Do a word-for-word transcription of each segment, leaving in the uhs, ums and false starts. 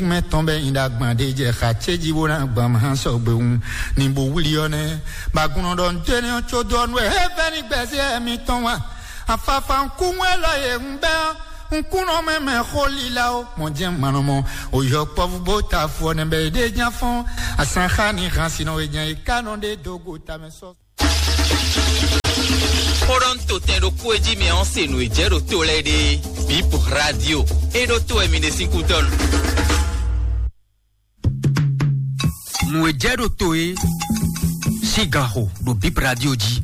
Mɛ tɔn bɛ nyi ɖagban ɖe jɛ xa ce jí bó ná gban ma sɔgbe wun ní bó wlí ɔ́ nɛ́. Bagunɔ ɖɔ nǔ tɛ́nɛ́ ɔ́ có dó ɔ́ nú wɛ é vɛ́ ní gbɛzɛ́ mitɔn wá. Afafa ŋkún wɛ lɔ yě ń bɛ́ ɔ́, ŋkúnɔ mɛ mɛ xó lílá ó. Mɔ jẹ́ mɔnɔmɔ, òyɔ kpɔ́vú bó ta afɔ nɛ bɛ yě ɖé ján fɔ́n. Asán xá ní hán sinɔ wé ján yě ká nɔ ɖé dó go tamɛ sɔ́. Xó ɖɔ ń to tɛn ɖokpó e jí mɛ ɔ́ se nǔ e jɛ ɖo to lɛ́ɛ ɖe. Bip Radio. É ɖó to wɛ mi ɖe sín kútɔ́ nu. Nǔ e jɛ ɖo to é sín ganxo ɖo Bip Radio jí.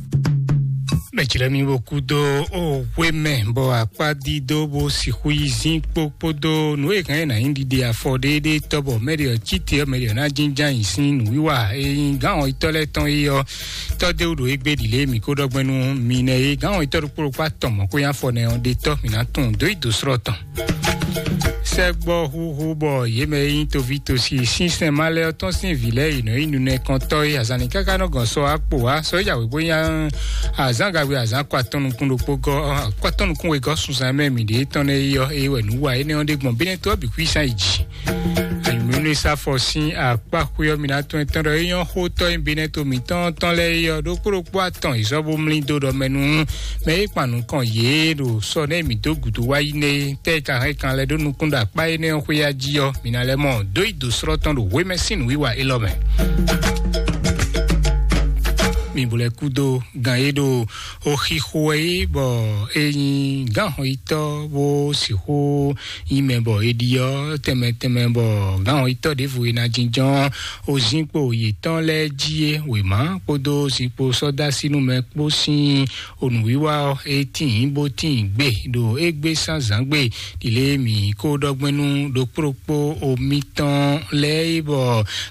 Mɛ jlɛ́ mi bo kú dó o hwe mɛ, bɔ akpá dídó bó sixú yi zín kpó kpódó nǔ e hɛn ná nyí ɖiɖe afɔ ɖéɖé tɔ́, bɔ mɛ ɖe ɔ́ cí te ɔ́, mɛ ɖe ɔ́ ná jínján nyi sín nǔwiwa e nyí gǎn ɔ́ tɔ́ lɛ́ɛ tɔn é ɔ́. Tɔ́ dé wú ɖo égbé ɖi lě e mǐ ko ɖɔ gbɛn nú mi nɛ́ é. Gǎn ɔ́ tɔ́ ɖokpó ɖokpó atɔn mɔ̌ ko nyí afɔ nɛ́ ɔ́ ɖe tɔ́, mǐ ná tunwun dó yi dǒ slɔ́ tɔn. Sɛ́gbɔ húhú bɔ yě mɛ e nyí toví tosi sínsɛn ma lɛ́ɛ ɔ́ tɔ́n sín vǐ lɛ́ɛ yi nɔ nyí nunɛkɔntɔ́ e azǎn ní káká nɔ gɔn sɔ akpo wá. Sɔ é jɛ awě bó nyí azǎn gagbe azǎn kɔ atɔn nukún ɖokpó gɔ́, kɔ atɔn nukún wegɔ́ sunzan mɛ mǐ ɖe tɔn nɛ́ yi ɔ́, é wɛ nǔ wa énɛ́ ɔ́ ɖé gbɔn bínɛ́ tó ɔ́ bǐ kwísán yi jǐ. Ayǐmúnúsá fɔ sín akpá xwé ɔ́, mi ná tunwun tɔn ɖɔ é nyɔ́ xótɔ́ nyí bínɛ́ to mǐtɔn tɔn lɛ́ɛ yi ɔ́, ɖokpó ɖokpó atɔn yi zɔ́ bó mlí dó ɖɔ mɛ nú mɛ e kpan nukɔn yě ɖo sɔ nɛ́ mǐ dó gǔdo wá yi nɛ́ é. Tɛ́ e ka hɛn kan lɛ́ ɖó nukún ɖo akpá énɛ́ ɔ́ xwé ya jí ɔ́, mǐ ná lɛ́ mɔ dó yi dǒ slɔ́ tɔn ɖo hwemɛ sín nǔwiwa élɔ́ mɛ. Mi bo lɛ́ kú dó gan e ɖo oxixo wɛ é, bɔ é nyí gǎnhɔnyitɔ́ bó sixú nyí mɛ bɔ è ɖi ɔ́ tɛnmɛ tɛnmɛ, bɔ gǎnhɔnyitɔ́ ɖěvo e ná jínjɔ́n ozinkpo yětɔn lɛ́ɛ jí é. Wěma kpódó zinkpo sɔ́dásínú mɛ kpó sín onǔwiwa ɔ́, é tíin bó tíin gbe ɖo égbé sán zǎngbe. Ɖile mǐ ko ɖɔ gbɛn nú ɖokpó ɖokpó omitɔn lɛ́ɛ é, bɔ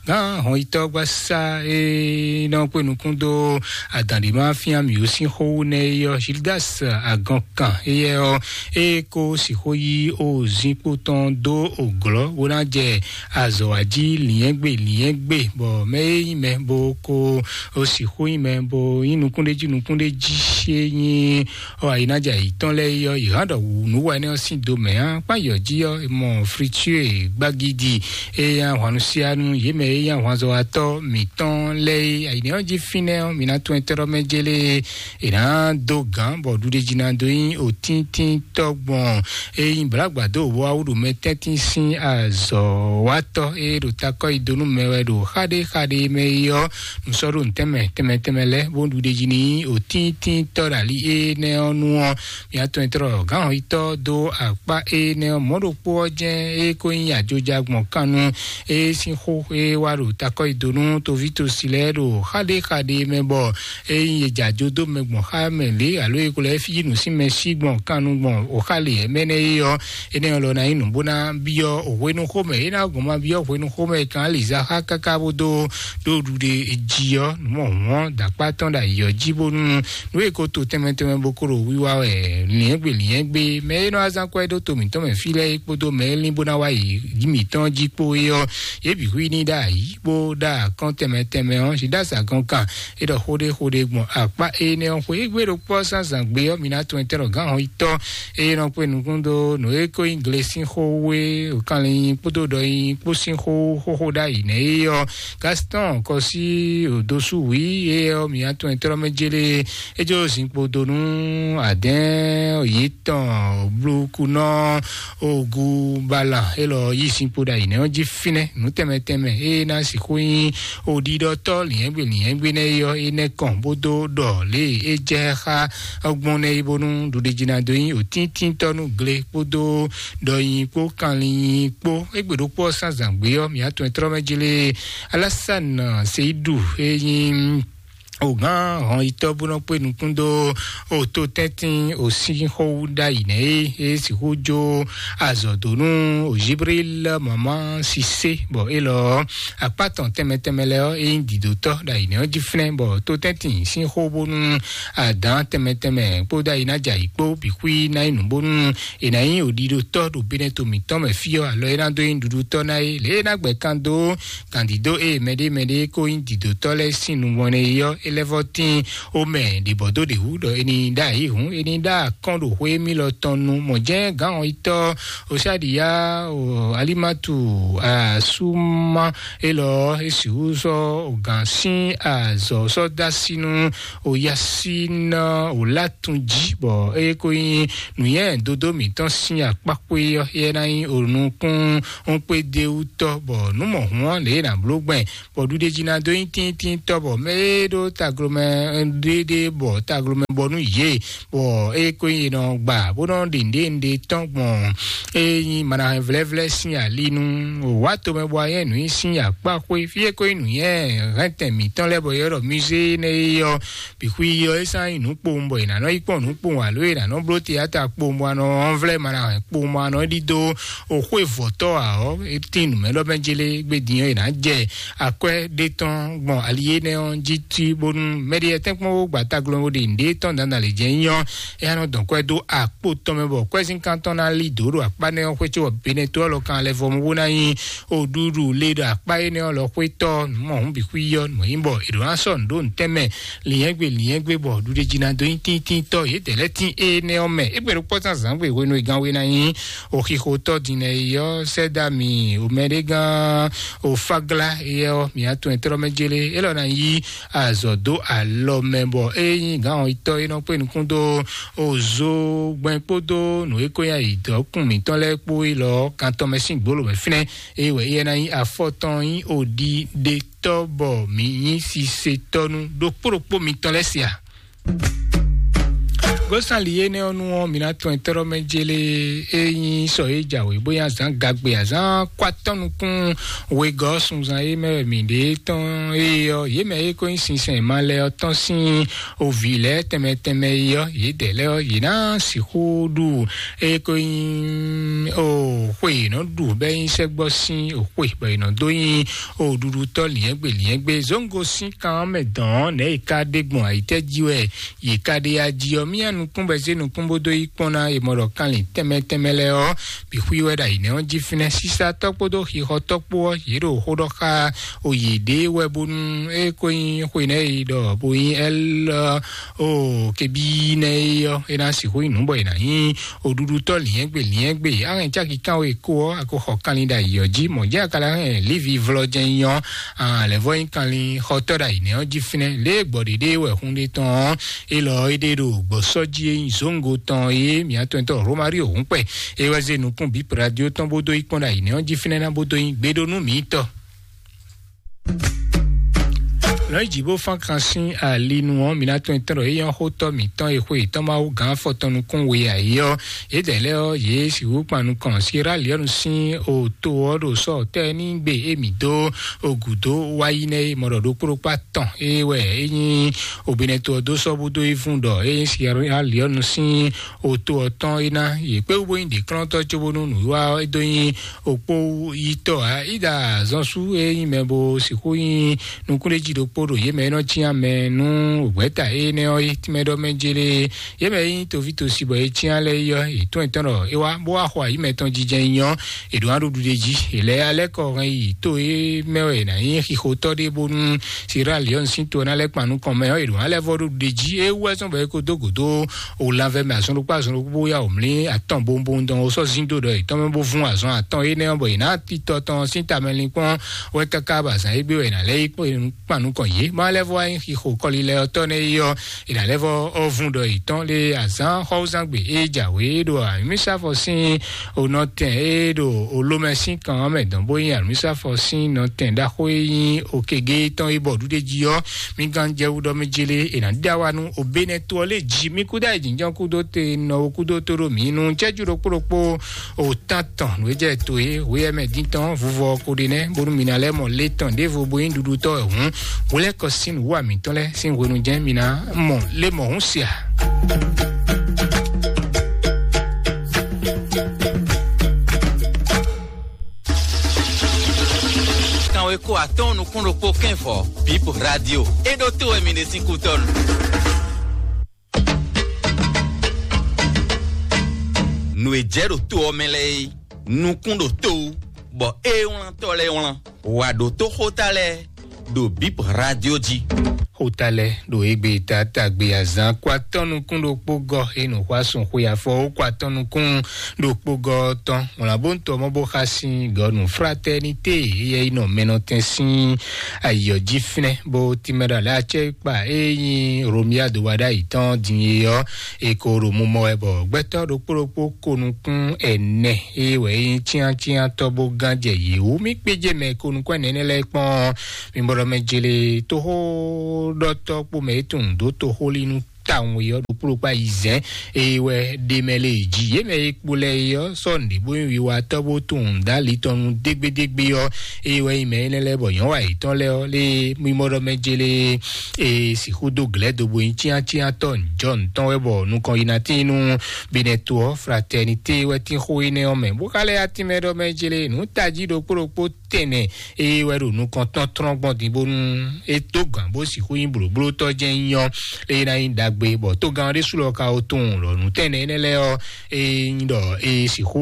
gǎn hɔnyitɔ́gbasá e nɔ kpé nukún dó adǎn ɖé ma fyán mǐ ó sín xó wú nɛ́ é ɔ́, Gildas Agɔnkan éyɛ́ ɔ́, é ko sixú yí ozinkpo tɔn dó òglɔ́ bó ná jɛ azɔ̌ wa jí lǐnyɛ́gbe lǐnyɛ́gbe, bɔ mɛ e nyí mɛ bó ko sixú nyí mɛ bó nyí nukúnɖéjí nukúnɖéjí é nyí ɔ ayinájà yětɔn lɛ́ɛ é ɔ́, yě hán ɖɔ wǔ nǔ wa énɛ́ ɔ́ sín do mɛ á. Kpán yɔ̌ jí ɔ́, è mɔ Fritue Gbagidi e nyí ahwannusianu yě mɛ e nyí ahwanzɔ́watɔ́ mǐtɔn lɛ́ɛ é. Ayǐnɛ́ ɔ́ jí fínɛ́ ɔ́, mǐ ná tún ɛtɛ́ɖɔ́ mɛ jélé è nǎ dó gǎn, bɔ ɖuɖéjí ná dó nyí òtíntínntɔ́ gbɔn e nyí blǎgbǎ dó wá wú ɖo mɛ tɛ́ntin sín azɔ̌watɔ́ e ɖo takɔ́ yi dó nú mɛ wɛ ɖo xáɖéxáɖé mɛ é ɔ́, nǔ sɔ́ ɖo nǔ tɛnmɛ tɛnmɛ tɛnmɛ lɛ́ɛ, bó ɖu ɖe jí n'i òtíntíntɔ́ ɖo ali énɛ́ ɔ́ nu ɔ́, mǐ atɔn e tlɔ gǎnhɔyítɔ́ dó akpá énɛ́ ɔ́, mɔ̌ ɖokpó ɔ́ jɛ́n é ko nyí ajoja gbɔn kan nu é sín xó é wá ɖo takɔ́ yi dó nú toví tosi lɛ́ɛ ɖo xáɖéxáɖé mɛ, bɔ é nyí è jɛ ajo dó mɛ gbɔn xá mɛ lě, alo è ko lɛ́ fí nǔ sín mɛ sí gbɔn kan nu gbɔn òxá lě mɛ nɛ́ é ɔ́, énɛ́ ɔ́ lɔ ná nyí nǔ bó ná byɔ́ hwenuxómɛ. É ná gbɔn ma byɔ́ hwenuxómɛ kan aliza xá káká bó dó ɖó ɖuɖe jí ɔ́, nǔ mɔ hɔn dǎkpá tɔn ɖo ayǐ ɔ́ jí bónú nú è ko to tɛnmɛ tɛnmɛ bó kó ɖo wiwa wɛ lǐnyɛ́gbe lǐnyɛ́gbe. Mɛ e nɔ wá zán kwɛ́ ɖó to mǐtɔn mɛ fí lɛ́ɛ é kpódó mɛ e lín bó ná wá yi yí mǐtɔn jí kpó é ɔ́, yě bǐ hu i ní ɖo ayǐ bó ɖo akɔ́n tɛnmɛ tɛnmɛ ɔ́, Zidas Agɔnkan é ɖɔ xó ɖé xó ɖé gbɔn akpá énɛ́ ɔ́ xwé. Égbé ɖokpó ɔ́ zán zǎngbé ɔ́, mi ná tunwun tɛ́ ɖɔ gǎn hɔn yi tɔ́ eye nɔ kpé nukún dó nǔ e ko nyí gle sín xó wé, kanlin kpódó ɖɔ nyi kpó sín xó xóxó ɖ'ayǐ nɛ́ é ɔ́, Gaston Kɔsí Odosu wǐ é ɔ́, mǐ atɔn e tlɔ́ mɛ jélé é jó zinkpo dó nú adɛ̌n yětɔn blúkunɔ ogu bala élɔ́ yí zinkpo ɖ'ayǐ nɛ́ ɔ́ jí fínɛ́. Nǔ tɛnmɛ tɛnmɛ é ná sixú nyí oɖiɖɔtɔ́ lǐnyɛ́gbe lǐnyɛ́gbe nɛ́ é ɔ́, é nɛ́ kɔn bó dó ɖɔ lě e é jɛ xá ɔ́ gbɔn nɛ́ é, bónú ɖuɖéjí ná dó nyí òtíntínntɔ́ nú gle kpódó ɖɔnyi kpó kanlin kpó. Égbé ɖokpó ɔ́ sín azǎn gbé ɔ́, mǐ atɔn e tlɔ́ mɛ jlé Alásán Seyidu e nyí ògán hɔnyitɔ́ bó nɔ kpé nukún dó òtó tɛ́ntin òsínxɔ́wú ɖ'ayǐ nɛ́ é, é sixú jó azɔ̌ dó nú Jibril mama sisé, bɔ élɔ́ akpá tɔn tɛnmɛ tɛnmɛ lɛ́ɛ ɔ́, é nyí dǐdótɔ́ ɖo ayǐ nɛ́ ɔ́ jí flɛ́n, bɔ tó tɛ́ntin sín xó bónú adǎn tɛnmɛ tɛnmɛ kpódó ayi ná jɛ ayǐ kpó bǐ xwí ná nyí nǔ bónú è nǎ nyí òɖiɖotɔ́ ɖo Benɛto mǐtɔn mɛ fí ɔ́, alɔ é ná dó nyí nǔɖuɖutɔ́ ná é. Lě e é ná gbɛ kan dó gǎndídó e mɛɖé mɛɖé ko nyí dǐdótɔ́ lɛ́ɛ sín nu mɔnɛ é ɔ́, é lɛ́vɔ́tín omɛ ɖě bɔ dó ɖě wú ɖɔ é ní ɖó ayǐ hǔn, é ní ɖó akɔ́n ɖo xwé émí lɔ tɔn nu. Mɔ̌ jɛ́n gǎn ɔ́ yi tɔ́ Osáɖiyá, o, Alimatu, Asúmá, élɔ́ é sixú sɔ́ gǎn sín azɔ̌ sɔ́ dó así nú oyásíná Olátunjí, bɔ é ko nyí nǔnywɛ́ dodó mǐtɔn sín akpákpé ɔ́, é ná nyí onukún kpédéwútɔ́, bɔ nǔ mɔ̌hun ɔ́ lě e è nǎ bló gbɛn bɔ ɖuɖéjí ná dó nyí tíntíntɔ́, bɔ mɛ e ɖó taglomɛ ɖéɖé bɔ taglomɛ bɔ nú yě, bɔ é ko nyí è nɔ gba bó nɔ ɖe nǔɖé nǔɖé tɔn gbɔn é nyí manahɛn vlɛ́vlɛ́ sín ali nú wǎ tomɛ bɔ ayɛ nǔ nyi sín akpá xwé fí é ko nyí nǔnywɛ́ hɛntɛn mǐtɔn lɛ́ɛ bɔ yɛ ɖɔ musée énɛ́ é ɔ́, bǐ xwí ɔ́ é sán nyí nǔ kpowun bɔ è nǎ nɔ yi kpɔ́n nǔ kpowun alo è nǎ nɔ bló teyáta kpowun bɔ a nɔ ɔ́nvlɛ́ manahɛn kpowun bɔ a nɔ ɖidó o xwé vɔ̌tɔ́ ǎ ɔ́, é tín nǔmɛɖɔmɛ jélé gbé din ɔ́, è nǎ jɛ akwɛ́ ɖé tɔn gbɔn ali énɛ́ ɔ́ jí tí bónú mɛɖiɛ tɛ́nkpɔ́n wó gba taglɔ́n bó ɖe nǔɖé tɔn dandan lě jɛ́n nyí ɔ́, é ná nɔ dɔn kwɛ́ dó akpó tɔn mɛ bɔ kwɛ́zínkán tɔn ná lí dǒ ɖo akpá nɛ́ ɔ́ xwé có bɔ Benɛto ɔ́ lɔ kan lɛ́ vɔ mɔ bó ná nyí oɖuɖu le ɖo akpá énɛ́ ɔ́ lɔ xwétɔ́ nǔmɔhún bǐ xwí ɔ́ nǔ nyí bɔ è ɖǒ ná sɔ́ nǔ ɖó nǔtɛn mɛ lǐnyɛ́gbe lǐnyɛ́gbe bɔ ɖuɖéjínadó nyí tíntíntɔ́ yědɛɛ lɛ́ɛ tín énɛ́ ɔ́ mɛ. É gbe ɖokpɔ́ zán zǎngbe hwenu e gán we ná nyí oxixotɔ́ din nɛ yi ɔ́, sɛ́dá mi omɛɖégán ofáglá éyɛ́ ɔ́, mi atɔn e tlɔ́ mɛ jélé élɔ́ ná yí azɔ̌ dó alɔ mɛ, bɔ é nyí gǎn ɔ́ tɔ́ é nɔ kpé nukún dó ozo gbɛn kpódó nǔ e ko nyí ayǐdɔ́kun mǐtɔn lɛ́ɛ kpó élɔ́ kan tɔn mɛ sín gbolo mɛ fínɛ́. É wɛ éyɛ́ ná nyí afɔ tɔn nyí oɖi ɖe tɔ́ bɔ mǐ nyí sisetɔ́ nú ɖokpó ɖokpó mitɔn lɛ́ɛ se a? Gosali énɛ́ ɔ́ nu ɔ́, mi ná tɔn tlɔ́ mɛ jélé é nyí sɔ e jǎwe bó nyí azǎn gagbe azǎn kó atɔ́ nukún wegɔ́ sunzan é mɛ wɛ mǐ ɖe tɔn é ɔ́, yě mɛ é ko nyí sinsɛn ma lɛ ɔ́ tɔn sín ovǐ lɛ́ɛ tɛnmɛ tɛnmɛ é ɔ́, yědɛɛ lɛ́ɛ ɔ́, yě ná sixú ɖu é ko nyí o xwe yě nɔ ɖu bɔ é nyí sɛ́gbɔ sín o xwe bɔ yě nɔ dó nyí o ɖuɖutɔ́ lǐnyɛ́gbe lǐnyɛ́gbe zóńgo sín kan ɔ́ mɛ dɔn ɔ́, nɛ̌ è ka ɖe gbɔn ayǐtɛ́ jí wɛ yě ka ɖe ya jí ɔ́, mía nukún bɔ é zé nukún bó dó yi kpɔ́n ná è mɔ ɖɔ kanlin tɛnmɛ tɛnmɛ lɛ́ɛ ɔ́, bǐ xwí wɛ ɖo ayǐ nɛ́ ɔ́ jí fínɛ́. Sísatɔ́ kpódó xixɔtɔ́ kpó ɔ́, yě ɖo xó ɖɔ xá o yě ɖě wɛ bónú é ko nyí xwe nɛ́ e ɖɔ bó nyí ɛlɔ o kebí nɛ́ é ɔ́, é ná sixú nyí nǔ bɔ è nǎ nyí oɖuɖutɔ́ lǐnyɛ́gbe lǐnyɛ́gbe. Á hɛn cáki kánwe kó ɔ́, a ko xɔ kanlin ɖo ayǐ ɔ́ jí, mɔ̌ jɛ́n a ka lɛ́ hɛn Livi vlɔjɛ́n nyí ɔ́, a lɛ̌ vɔ nyí kanlin xɔtɔ́ ɖo ayǐ nɛ́ ɔ́ jí fínɛ́. Lě e gbɔ̌ ɖě ɖé wɛ hun ɖé tɔn ɔ́, élɔ́ é ɖe ɖo gbɔ̌sɔ́ jí e nyí zǒngo tɔn é mǐ atɔntɔ́ Romario Húnkpɛ é wɛ zé nukún bǐ radio tɔn bó dó yi kpɔ́n ɖo ayǐ nɛ́ ɔ́ jí fínɛ́ ná bó dó nyí gbeɖónú mǐtɔn. Lɔ̌nyijǐ bó fán kan sín ali nu ɔ́, mi ná tunwun tɔn ɖɔ é nyɔ́ xótɔ́ mǐtɔn e xwe yětɔn Mawu gǎn afɔtɔn nukún we ǎ é ɔ́, yědɛɛ lɛ́ɛ ɔ́, yě sixú kpan nukɔn Sierra Leone sín oto ɔ́ ɖo sɔ́ tɛ́ ní gbe émí dó ogǔdó wá yi nɛ́ é mɔ ɖɔ ɖokpó ɖokpó atɔn é wɛ é nyí obinɛto ɔ́ dó sɔ́ bó dó yi vún ɖɔ é nyí Sierra Leone sín oto ɔ́ tɔn é ná. Yě kpé wú bó nyí ɖěklɔ́ntɔ́ cóbónú nǔwiwa ɔ́ é dó nyí okpó yítɔ́ ǎ. Ída zɔn sú e nyí mɛ bó sixú nyí nukúnɖéjí ɖokpó ɖo yě mɛ e nɔ cyán mɛ nú wěgbɛ́ta énɛ́ ɔ́ é tínmɛ ɖɔ mɛ jélé. Yě mɛ e nyí toví tosi bɔ é cyán lɛ́ɛ é ɔ́, yě tɔ́n yětɔn ɖɔ é wá bó wá xɔ ayǐ mɛtɔn jijɛ nyí ɔ́, è ɖǒ ná ɖo ɖuɖe jí. È lɛ́ alɛ́ kɔ hɛn yi tó e mɛ wɛ è nǎ nyí xixotɔ́ ɖé bónú Sierra Leone sín to ɔ́ ná lɛ́ kpan nukɔn mɛ ɔ́, è ɖǒ ná lɛ́ vɔ ɖo ɖuɖe jí. É wú wɛ zɔ́n bɔ é ko dó gǒdó o lanvɛ mɛ azɔn ɖokpó azɔn ɖokpó bó yá wǒ mlí atɔn bowunbowun dɔn ó sɔ́ zín dó ɖɔ yětɔn mɛ bó vún azɔn atɔn énɛ́ ɔ́, bɔ yě ná titɔ tɔn sín tamɛlinkpɔ́n wɛ káká bɔ azǎn égbé wɛ è nǎ lɛ́ yi kpan nukɔn yě. Má lɛ́ vɔ wá nyí xixo kɔlilɛ́ ɔ́ tɔ́ nɛ́ é ɔ́, è nǎ lɛ́ vɔ ɔ́ vún ɖɔ yětɔn lé azǎn xɔ́wúzán gbe é jǎwe ɖo amǐsáfɔ sín onɔtɛn e ɖo olómɛ sín kan ɔ́ mɛ dɔn bó nyí amǐsáfɔ sín nɔtɛn ɖaxó e nyí okegé tɔn e bɔ ɖuɖe jí ɔ́, mi gán jɛ wú ɖɔ mɛ jélé è nǎ ɖe awa nú obénɛ́ to ɔ́ lé jí. Mi kúdó ayǐjínjɔ́n kúdó te nɔ wo kúdó tó ɖo mǐ nu cɛ́jú ɖokpó ɖokpó o tán tɔn nǔ e jɛ to e wéyɛ́ mɛ dín tɔn vuvɔ ko ɖe nɛ́ bónú mi ná lɛ́ mɔ lé tɔn ɖěvo bó nyí ɖuɖutɔ́ wɛ hǔn. Hwelɛ́kɔ sín nǔ wa mǐtɔn lɛ́ɛ sín hwenu jɛ́n mi ná mɔ lé mɔ hǔn sia. Kanwe ko atɔ́ɔ́n nukún ɖokpó kɛ́n vɔ Bip Radio. É ɖó to wɛ mi ɖe sín kútɔ́nu. Nǔ e jɛ ɖo to ɔ́ mɛ lɛ́ɛ é, nukún ɖo to wú, bɔ é wlán tɔ́ lɛ́ɛ wlán. Wǎ ɖótó xóta lɛ́ɛ ɖo Bip Radio jí. Xota lɛ ɖo égbé tata gbe azan kó atɔ́ nukún ɖokpó gɔ, e nǔxwá sun xwe afɔ ó kó atɔ́ nukún ɖokpó gɔ tɔn. Wlǎn bó ń tɔ mɔ bó xa sín gɔnu Fraternité, eyɛ yi nɔ mɛnɔtɛn sín ayɔ jí fínɛ́ bó tímɛ ɖo alɛ acɛ kpa e nyí Romia do wa ɖ'ayǐ tɔn din e ɔ́, e ko ɖo mumɔ wɛ bɔ gbɛtɔ́ ɖokpó ɖokpó ko nukún ɛnɛ e wɛ é nyí cyáncyántɔ́ bó gán jɛ yě wú. Mí kpéjé mɛ ko nukún ɛnɛ énɛ́ lɛ́ɛ kpɔ́n. Mi bɔɖɔ mɛ jele tóxó ɖɔtɔ́ kpó mɛ e tunwun dó toxólínú tawun e ɔ́ ɖokpó ɖokpó ayizɛ́n e wɛ ɖe mɛ lé jí. Yě mɛ e kpo lɛ e ɔ́ sɔ́ nǔɖé bó nyí wiwatɔ́ bó tunwun dó ali tɔn nu dégbédégbé ɔ́, e wɛ nyí mɛ énɛ́ lɛ́ɛ bɔ nyɔ̌wa yětɔn lɛ́ɛ ɔ́ lé mi bɔɖɔ mɛ jele e sixú dó glɛ̌ do bo nyí cyáncyántɔ́ njɔ ntɔn wɛ bɔ nukɔn yi ná tín nú Benɛto ɔ́, Fraternité wɛ tín xó énɛ́ ɔ́ mɛ. Bó ka lɛ́ yá tínmɛ ɖɔ mɛ jele nǔ tají ɖokpó ɖokpó tɛnɛ e wɛ ɖo nukɔn tɔn tlɔ́n gbɔn din bónú é dó gǎn bó sixú nyí blǒblótɔ́ jɛ́n nyí ɔ́, é ná nyí ɖagbe bɔ tógán ɔ́ ɖésú lɔ ka ó tunwun ɖɔ nǔ tɛnɛ énɛ́ lɛ́ɛ ɔ́, é nyí ɖɔ é sixú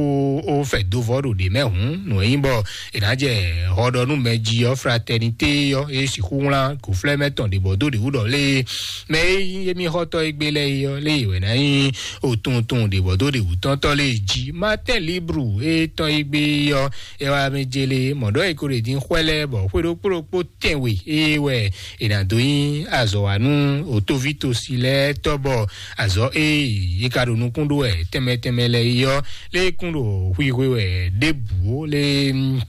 ó fɛ dó vɔ́ ɖo ɖě mɛ hǔn nǔ e nyí bɔ è nǎ jɛ hɔ ɖɔ nú mɛ jí ɔ́, Fraternité ɔ́, é sixú wlán gǒflɛ́mɛ tɔn ɖě bɔ dó ɖě wú ɖɔ lé mɛ e nyí émí xɔ́tɔ́ e gbé lɛ́ɛ é ɔ́, lé wɛ ná nyí òtuntun ɖě bɔ dó ɖě wú tɔn tɔ́ lé jí. Matin Libre e tɔn e gbé ɔ́, é wá mɛ jele mɔ̌ ɖɔ é ko ɖe dín xwɛ lɛ́ɛ bɔ xwé ɖokpó ɖokpó tɛnwe ée wɛ è nǎ dó nyí azɔ̌ wa nú òtóví tosi lɛ́ɛ tɔ́ bɔ azɔ̌ e yě ka ɖo nukún ɖó wɛ tɛnmɛ tɛnmɛ lɛ́ɛ é ɔ́, lé kún ɖo xwixwe wɛ ɖěbǔ ó lé.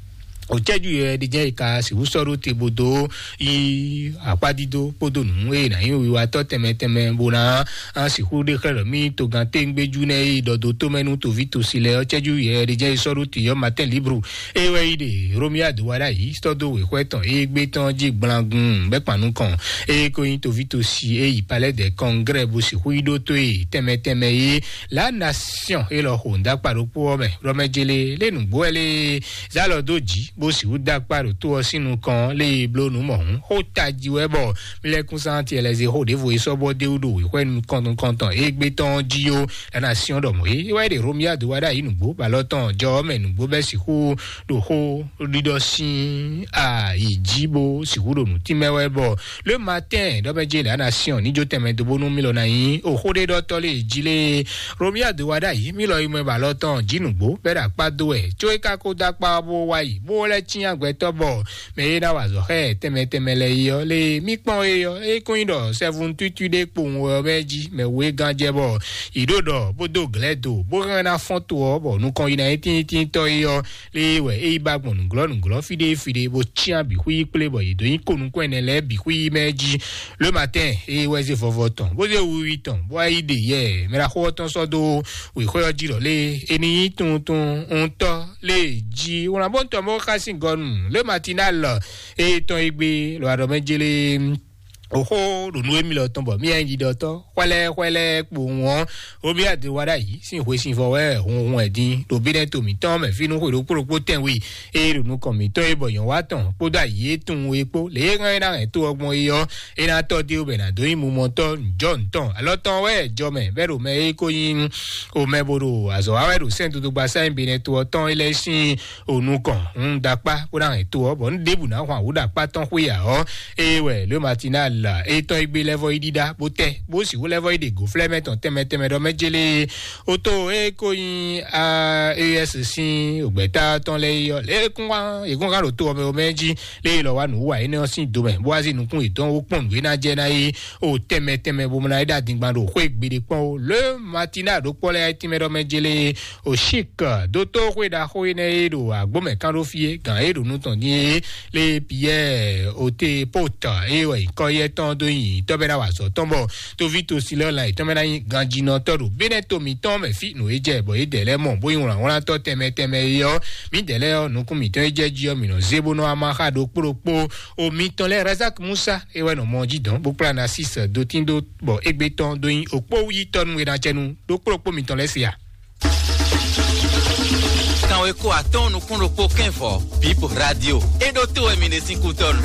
Òcɛ́jú yɛ ɖi jẹ́ ìka sixú sɔ́ ɖó te bó dó yí akpádídó kpódó nǔ e nǎ nyí wiwatɔ́ tɛnmɛ tɛnmɛ bó ná sixú ɖe xlɛ́ ɖɔ mí togán téńgbéjú nɛ́ e ɖɔ dó tómɛ nú toví tosi lɛ́ɛ ɔ́, cɛ́jú yɛ ɖi jẹ́ ìsɔ́ ɖó tiyɔ́ Matin Libre. É wɛ yi ɖe Romia do wa ɖ'ayǐ sɔ́ dó wěxwɛ́ tɔn égbé tɔn jí gblangun bɛ́ kpan nukɔn. É ko nyí toví tosi é yi Palais des Congrès bó sixú yi ɖó tó e tɛnmɛ tɛnmɛ é La Nation é lɔ xo ŋdákpa ɖokpó ɔ́ mɛ. Ɖɔ mɛ jele lé nǔgbó wɛ lé zálɔ dó jǐ bó sixú dó akpá ɖo tó ɔ́ sín nukɔn lé bló nǔ mɔ̌hún. Xó tají wɛ bɔ mílɛ́kúnsántí ɛlɛzé xó ɖěvo é sɔ́ bɔ dé wú ɖo wěxwɛ́ nukɔn nukɔntɔn égbé tɔn jí ó. La Nation ɖɔ mɔ̌ é wɛ ɖe Romia do wa ɖ'ayǐ nǔgbó bɔ alɔ tɔn jɔ ɔ́ mɛ nǔgbó bɛ́ sixú ɖo xó ɖiɖɔ sín ayǐ jí bó sixú ɖo nǔ tínmɛ wɛ bɔ Le Matin ɖɔ mɛ jele La Nation ní jó tɛnmɛ dó bónú mí lɔ ná nyí o xó ɖé ɖɔtɔ́ lé jí lé. Romia do wa ɖ'ayǐ mí lɔ yi mɔ ba lɔ tɔn jí nǔgbó bɛ́ ɖo akpá dó wɛ có é ka ko dó akpá ɔ́ bó wá yi bó lɛ́ cyán gbɛtɔ́ bɔ mɛ e ná wa azɔ̌ xá ɛ tɛnmɛ tɛnmɛ lɛ́ɛ é ɔ́ lé mí kpɔ́n é ɔ́ é kún nyí ɖɔ sɛ́vún tútú ɖé kpowun wɛ ɔ́ mɛ jí mɛ wú é gán jɛ bɔ yě ɖo ɖɔ bó dó glɛ̌ do bó hɛn ná fɔ́n to ɔ́ bɔ nukɔn yi ná nyí tíntíntɔ́ é ɔ́ lé wɛ é yi ba gbɔn nǔglɔ́ nǔglɔ́ fí ɖé fí ɖé bó cyán bǐ xwí kplé bɔ yě dó nyí ko nukún ɛnɛ lɛ́ɛ bǐ xwí mɛ jí. Le Matin é wɛ zé vɔvɔ tɔn bó zé wiwi tɔn bó wá yi ɖe yɛ mɛ ɖaxó ɔ́ tɔn sɔ́ dó wěxwé ɔ́ jí ɖɔ lé é ní nyí tuntun ŋutɔ́ lé jí wlán bó ń tɔ mɔ xá sín gɔnu Le Matinal é tɔn é gbé lɔ aɖɔ mɛ jélé. Oxó ɖo nú émí lɔ tɔn bɔ mí nyí ɖiɖɔtɔ́ xwɛlɛ xwɛlɛ kpowun ɔ́, Romia do wa ɖ'ayǐ sín hwesivɔ́ wɛ hunhun ɛ dín ɖo bí nɛ́ to mǐtɔn mɛ fínú xwe ɖokpó ɖokpó tɛnwe e ɖo nukɔn mǐtɔn e bɔ nyɔ̌ wa tɔn kpódó ayǐ e tunwun e kpó lě e hɛn é ná hɛn tó ɔ́ gbɔn é ɔ́, é ná tɔ́ dé bɛ ná dó nyí mumɔtɔ́ njɔ ntɔn alɔ tɔn wɛ jɔ mɛ bɛ́ ɖo mɛ e ko nyí o mɛ bo ɖo azɔ̌ wa wɛ ɖo sɛ́n dodogba sáyɛn benɛ to ɔ́ tɔn é lɛ́ sín o nukɔn un ɖakpá bó ná hɛn to ɔ́ bɔ un ɖěbǔ ná hwan wǔ ɖakpá tɔn xwé ǎ ɔ́, eye wɛ Le Matinal etɔn e gbé lɛ́ vɔ yi ɖíɖá bó tɛ bó sixú lɛ́ vɔ yi ɖe gǒflɛ́mɛ tɔn tɛnmɛ tɛnmɛ ɖɔ mɛ jélé oto e ko nyí a es sín ògbɛ́tá tɔn lɛ́ɛ yi ɔ́ lé kún wá yě kún hán ɖo to ɔmɛ ɔmɛ jí lé yi lɔ wá nǔ wa énɛ́ ɔ́ sín domɛ bó wá zí nukún yětɔn wó kpɔn nǔ e ná jɛ ná yi o tɛnmɛ tɛnmɛ bó mɔ ná yi ɖo adingban ɖo xwé gbeɖé kpɔn o Le Matinal ɖokpɔ lɛ́ɛ tínmɛ ɖɔ mɛ jélé o Chic dótó xwé ɖaxó énɛ́ e ɖo agbómɛ kán ɖó fí é gǎn e ɖo nú tɔn dín é lé Pierre Ote Pot e wɛ nyǐkɔ yɛ tɔn dó nyi tɔ́ bɛ́ ná wa azɔ̌ tɔn bɔ tóví tosilɔ́la yětɔn mɛ ná nyí ganjínɔtɔ́ ɖo Benɛ́to mǐtɔn mɛ fí nǔ e jɛ bɔ yědɛɛ lɛ́ɛ mɔ bó nyí wlǎnwlántɔ́ tɛnmɛ tɛnmɛ é ɔ́, mǐdɛɛ lɛ́ɛ ɔ́, nukún mǐtɔn e jɛ jí ɔ́, mǐ nɔ zé bó nɔ́ wá má xá ɖokpó ɖokpó. O mǐtɔn lɛ́ɛ Razak Musa é wɛ nɔ mɔ jí dɔn bó kplá Nasis dotín dó bɔ égbé tɔn dó nyí òkpó yítɔ́ nú e ná cɛ nú ɖokpó ɖokpó mǐtɔn lɛ́ɛ se a? Kanweko atɔ́ɔ́n nukún ɖokpó kɛ́n vɔ Bip Radio. É ɖó tó wɛ mi ɖe sín kútɔ́nu.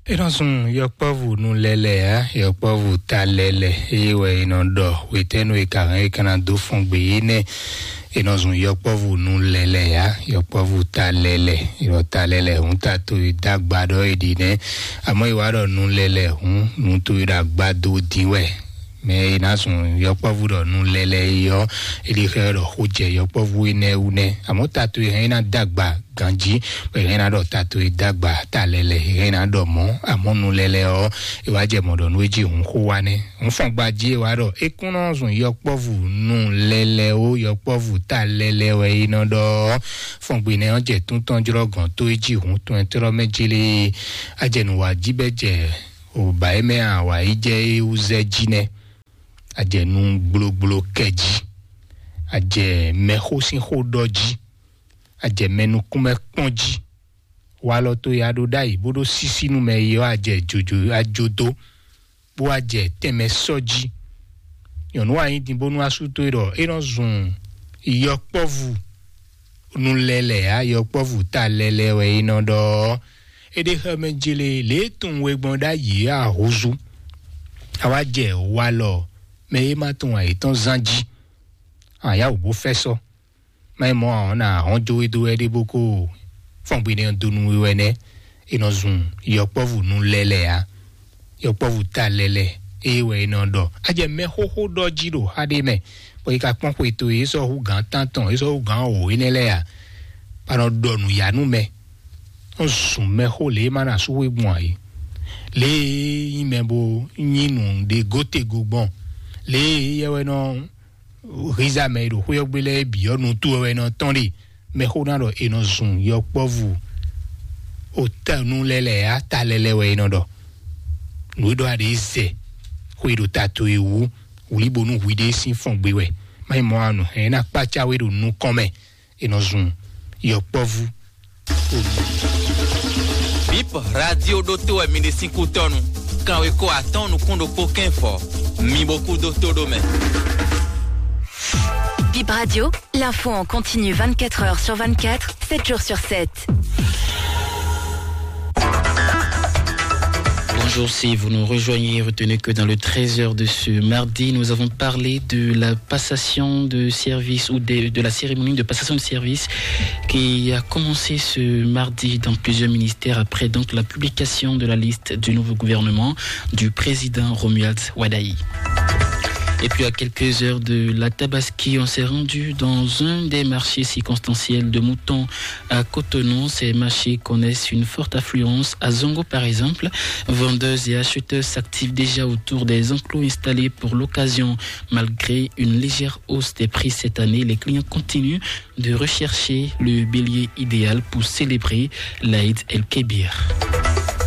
É nɔ sun yɔkpɔ́vú nu lɛlɛ á, yɔkpɔ́vú ta lɛlɛ, eye wɛ è nɔ ɖɔ hwetɛ́nu e ka hɛn é ka ná dó fɔn gbe yé nɛ́. È nɔ zun yɔkpɔ́vú nu lɛlɛ ya, yɔkpɔ́vú ta lɛlɛ, yɔ ta lɛlɛ hǔn ta to e dagba ɖɔ è ɖi nɛ́. Àmọ́ è wá ɖɔ nu lɛlɛ hǔn nu to e ɖo agbado dín wɛ. Mɛ è nǎ zun yɔkpɔ́vú ɖɔ nu lɛlɛ e ɔ́, è ɖi xɛ ɖɔ xó jɛ yɔkpɔ́vú énɛ́ wú nɛ́. Àmọ́ ta to e hɛn é ná dagba ganjí, bɔ è hɛn ná ɖɔ ta to e dagba ta lɛlɛ, è hɛn ná ɖɔ mɔ̌. Àmọ́ nu lɛlɛ ɔ́, è wá jɛ mɔ̌ ɖɔ nú é jí hǔn xó wá nɛ́. Nǔfɔngba jí e wá ɖɔ é kún nɔ zun yɔkpɔ́vú nu lɛlɛ ó, yɔkpɔ́vú ta lɛlɛ wɛ é nɔ ɖɔ. Fɔngbe nɛ ɔ́ jɛ tún tɔn jlɔ́ gɔ̌n tó é jí hǔn tɔn ɛ tlɔ́ mɛ jélé. Ajɛ nǔ wá jí bɛ jɛ òbá é mɛ awǎ yi jɛ é wú zɛ jí nɛ́. Ajɛ nú gblógbló kɛ jí. Ajɛ mɛxó sín xó ɖɔ jí. Ajɛ mɛ nukúnmɛ kpɔ́n jí. Walɔ to ya ɖó ɖ'ayǐ bó ɖó sísí nú mɛ yi ɔ́, a jɛ jojo a jó dó, bó wá jɛ tɛnmɛ sɔ́ jí. Nyɔ̌nu wa nyí din bónú asú towe ɖɔ é nɔ zun yɔkpɔ́vú nu lɛlɛ ǎ, yɔkpɔ́vú ta lɛlɛ wɛ é nɔ ɖɔ ɔ́. É ɖe xɛ mɛ jele lě e tunwun we gbɔn ɖ'ayǐ ǎ húzú. A wá jɛ walɔ mɛ e ma tunwun ayǐ tɔn zán jí. A yá wǔ bó fɛ́ sɔ́. Má nyí mɔ̌ ǎ ɔ́, nǎ hɔn jó we dó wɛ ɖé bó kó fɔ́n gbe nɛ́ ɔ́ dó nú we wɛ nɛ́. È nɔ zun yɔkpɔ́vú nu lɛlɛ ǎ. Yɔkpɔ́vú ta lɛlɛ, ée wɛ è nɔ ɖɔ. A jɛ mɛ xóxó ɖɔ jí ɖo xá ɖé mɛ, bɔ è ka kpɔ́n xwe towe, é sɔ́ hú gǎn tántɔn, é sɔ́ hú gǎn wǒ énɛ́ lɛ́ɛ ǎ. Bá nɔ ɖɔ nǔyá nú mɛ. Nɔ zun mɛxó lě e ma nɔ asú xwé gbɔn ǎ é. Lě e nyí mɛ bo nyí nǔ ɖe gótego gbɔn. Lě e yɛ wɛ nɔ hízá mɛ e ɖo xwé ɔ́ gbe lɛ́ɛ bǐ ɔ́ nu towe wɛ è nɔ tɔ́n ɖe. Mɛxó ná ɖɔ è nɔ zun yɔkpɔ́vú otanu lɛ́ɛ lɛ́ɛ á, ta lɛ́ɛ lɛ́ɛ wɛ è nɔ ɖɔ. Nǔ e ɖɔ a ɖě zɛ xwe ɖo ta towe wú, wlǐ bónú hwi ɖé sín fɔn gbe wɛ. Má nyí mɔ̌ ǎ, nǔ hɛn ná kpácá we ɖo nukɔn mɛ, è nɔ zun yɔkpɔ́vú. Bip radio ɖótó wɛ mi ɖe sín kú tɔnu. Kanwe ko atɔn nukún ɖokpó kɛ́nfɔ. Mi bo kú dó tó ɖó mɛ. Bip Radio, l'info en continu vingt-quatre heures sur vingt-quatre, sept jours sur sept. Bonjour, si vous nous rejoignez, retenez que dans le treize heures de ce mardi, nous avons parlé de la passation de service ou de, de la cérémonie de passation de service qui a commencé ce mardi dans plusieurs ministères après donc la publication de la liste du nouveau gouvernement du président Romuald Wadagni. Et puis à quelques heures de la Tabaski, on s'est rendu dans un des marchés circonstanciels de Mouton à Cotonou. Ces marchés connaissent une forte affluence. À Zongo, par exemple, vendeuses et acheteurs s'activent déjà autour des enclos installés pour l'occasion. Malgré une légère hausse des prix cette année, les clients continuent de rechercher le bélier idéal pour célébrer l'Aïd El-Kébir.